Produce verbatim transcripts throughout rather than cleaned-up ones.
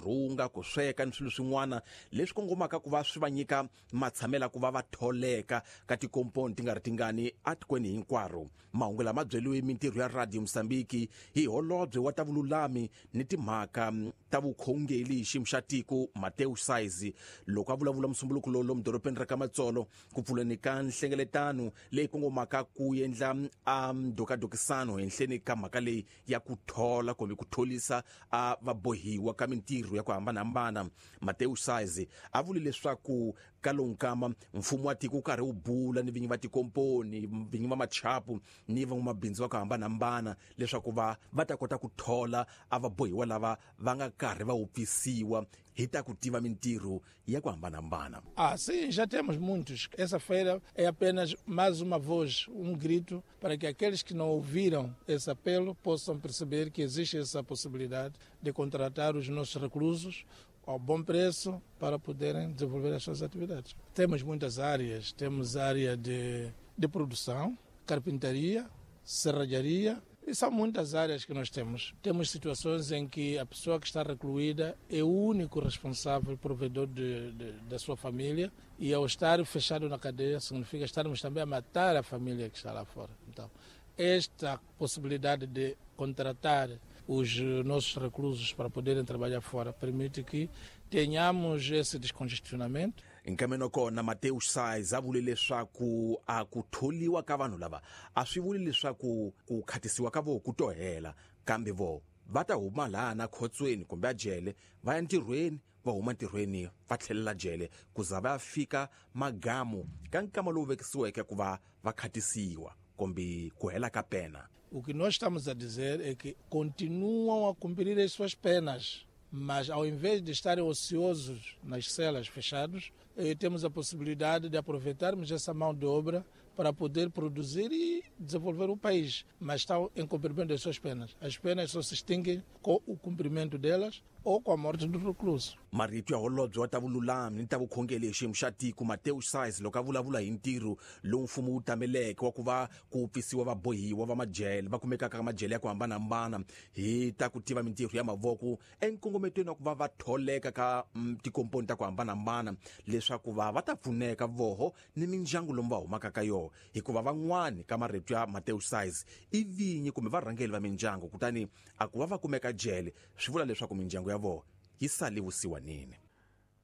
rhunga, ku sweka ni swilo swin'wana leswi kongomaka ku va swi va nyika matshamela ku va va tholeka ka tikomponi ti nga ri tingani etikweni hinkwaro. Mahungu lama byeliwe mintirho ya Radio Mozambique hi holobye wa ta vululami ni timhaka ta vukhongeri hi xiyimo xa tiko Mateus Saizi loko a vulavula musumbuluko lowu lomu dorobeni ra ka Matsolo ku pfuleni ka nhlengeletano leyi kongomaka ku endla a ndokadokisano henhleni ka mhaka leyi ya ku thola kumbe ku tholisa a vabohiwa ka mintirho ya ku hambanahambana. Mateus Saizi a vule leswaku ka lowu nkama mfumo wa tiko wu karhi wu bula ni vinyi va tikomponi, vinyi va machapu ni van'wamabindzu va ku hambanahambana leswaku va va ta kota ku thola a vabohiwa lava va nga karhi va wupfisiwa hi ta ku tiva mintirho ya ku hambanahambana. Ah, sim, já temos muitos. Essa feira é apenas mais uma voz, um grito para que aqueles que não ouviram esse apelo possam perceber que existe essa possibilidade de contratar os nossos reclusos ao bom preço para poderem desenvolver as suas atividades. Temos muitas áreas, temos área de, de produção, carpintaria, serralharia, e são muitas áreas que nós temos. Temos situações em que a pessoa que está recluída é o único responsável, provedor de, de, da sua família, e ao estar fechado na cadeia significa estarmos também a matar a família que está lá fora. Então, esta possibilidade de contratar os nossos reclusos para poderem trabalhar fora permite que tenhamos esse descongestionamento. Nkameno kona Mateus Saiz a vule leswaku a ku tholiwa ka vanhu lava a swi vuli leswaku ku khatisiwa ka vo ku to hela, kambe vo va ta huma laha na khotsweni kumbe a jele va ya ntirhweni, va huma ntirhweni va tlhelela jele ku za va ya fika magamu ka nkama lowu vekisiweke ku va va khatisiwa kumbe ku hela ka pena. O que nós estamos a dizer é que continuam a cumprir as suas penas, mas ao invés de estarem ociosos nas celas fechados, eh, temos a possibilidade de aproveitarmos essa mão de obra para poder produzir e desenvolver o país, mas estão em cumprimento das suas penas. As penas só se extinguem com o cumprimento delas ou com a morte do recluso. Marito ya holobye wa ta vululami ni ta vukhongeri hi xiyimo xa tiko Mateus Saiz loko a vulavula hi ntirho lowu mfumo wu tameleke wa ku va ku pfisiwa vabohiwa va majele va kumekaka ka majele ya ku hambanahambana hi ta ku tiva mintirho ya mavoko enkongometweni wa ku va va tholeka ka tikomponi ta ku hambanahambana leswaku va va ta pfuneka voho ni mindyangu lomu va humaka ka yona, hikuva van'wani ka marito ya Mateus Saiz i vinyi kumbe varhangeri va mindyangu, kutani a ku va va kumeka jele swi vula leswaku mindyangu ya vona yi sale vusiwanini.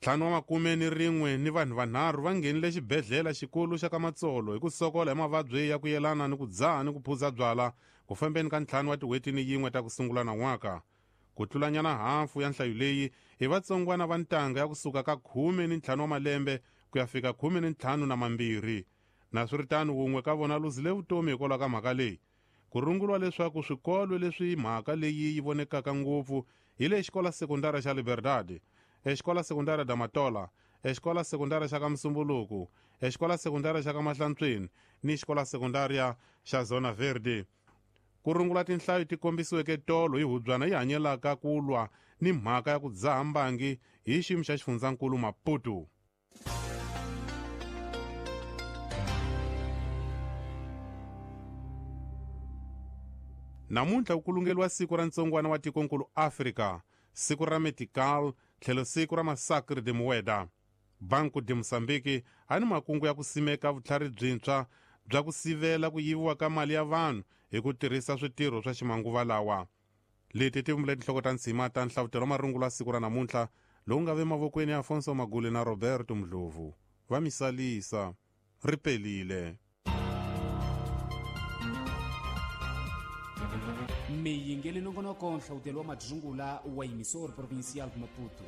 Ntlhanu wa makume ni rin'we ni vanhu vanharhu va nghenile xibedhlele xikulu xa ka Matsolo hi ku sokola hi mavabyi ya ku yelana ni ku dzaha ni ku phuza byala ku fambeni ka ntlhanu wa tin'hweti ni yin'we ta ku sungula nan'waka. Ku tlulanyana hafu ya nhlayo leyi hi vatsongwana va ntanga ya kusuka ka khume ni ntlhanu wa malembe ku ya fika khume ni ntlhanu na mambirhi. Naswiritano wun'we ka vona luzile vutomi hikwalaho ka mhaka leyi. Ku runguriwa leswaku swikolo leswi mhaka leyi yi vonekaka ngopfu hi le xikola sekundara xa Liberdade, exikola sekundara da Matola, exikola sekundara xa ka Musumbuluku, exikola sekundara xa ka Mahlantsweni ni xikola sekundaria xa Zona Verde. Ku rungula tinhlayo ti kombisiweke tolo hi hubyana yi hanyelaka ku lwa ni mhaka ya ku dzaha mbangi hi xiyimo xa xifundzankulu Maputo. Namuntlha ku kulungeliwa siku ra ntsongwana wa tikonkulu Afrika, siku ra Medical tlhelo siku ra Massacre de Mueda. Banco de Mozambique a ni makungu ya ku simeka vutlhari byintshwa bya ku sivela ku yiviwa ka mali ya vanhu hi ku tirhisa switirho swa ximanguva lawa. Leti ti vumbile tinhloko ta ntshima ta nhlavutelo wa marungulo ya siku ra namuntlha lowu nga ve mavokweni ya Afonso Magule na Roberto Mdlovu. Va misalisa ri pelile. Miyingeli nongonoko nhlavutelo wa madzungula wa Emissor Provincial de Maputo.